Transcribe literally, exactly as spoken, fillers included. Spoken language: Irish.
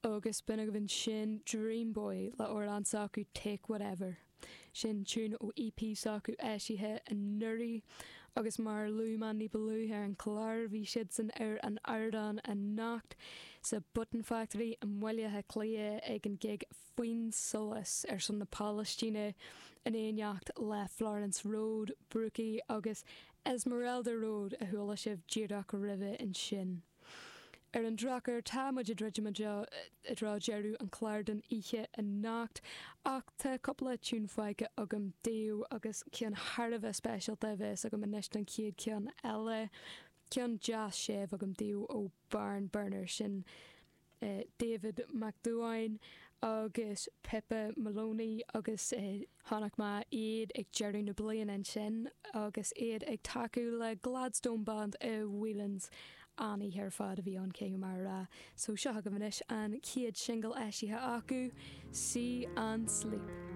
Agus b'in agaibh ansin Dream Boy le amhrán s'acu Take Whatever. Sin tiún ó EP s'acu eisithe anuraidh agus mar a luaigh mé ní ba luaithe ar an chlár bhí siadsan ar an ardán anocht sa Button Factory i mBaile Átha Cliath ag an gig Faoin Solas ar son na Palaistíne in éineacht le Florence Road, Brookie agus Esmeralda Road a chuala sibh díreach roimhe ansin. Ar an drochuair tá muid ag druidim i dtreo deireadh an chláir don oíche anocht ach tá cúpla tiún fágtha agam daoibh agus ceann thar a bheith speisialta a bheas agam anois don chéad cheann eile. Ceann deas séimh agam daoibh ó Barn Burner sin David Mac Dúáin agus Pippa Maloney agus chonaic mé iad ag deireadh na bliana ansin agus iad ag tacú le Gladstone Band i Whelan's an-oíche ar fad a bhí ann cé mar a rá. So seo agaibh anois an chéad singil eisithe acu, See and Sleep.